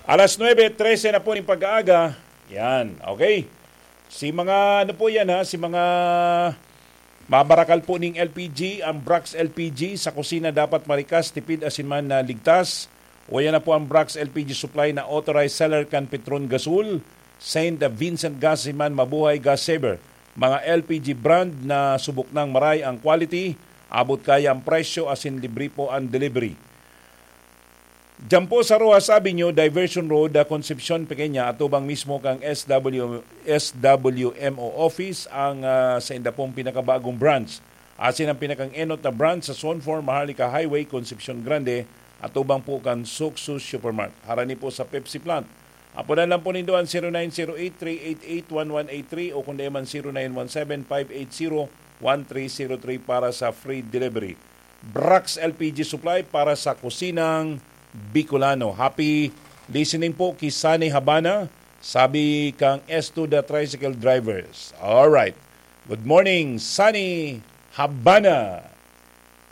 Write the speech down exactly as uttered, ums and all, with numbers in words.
Alas nuebe trese na po ning pag-aaga. Yan, okay. Si mga, ano po yan ha, si mga mabarakal po ning L P G, ang Brax L P G, sa kusina dapat marikas, tipid asin man na ligtas. O yan na po ang Brax L P G supply na authorized seller kan Petron Gasol, Saint Vincent Gas asin man Mabuhay Gas Saver. Mga L P G brand na subok nang maray ang quality, abot kaya ang presyo asin libre po ang delivery. Diyan po sa Roxas Avenue, Diversion Road, ah, Concepcion, Pequeña, atubang mismo kang S W, S W M O office ang, ah, sa inda pong pinakabagong branch. Asin ang pinakang-enot na branch sa Zone four, Maharlika Highway, Concepcion Grande, atubang po kan Sucsu Supermart. Harani po sa Pepsi Plant. Aponan lang po nindo ang zero nine zero eight three eight eight one one eight three o kung di man zero nine one seven five eight zero one three zero three para sa free delivery. Brax L P G Supply para sa kusinang Bicolano. Happy listening po ki Sunny Habana, sabi kang S two the Tricycle Drivers. Alright. Good morning, Sunny Habana.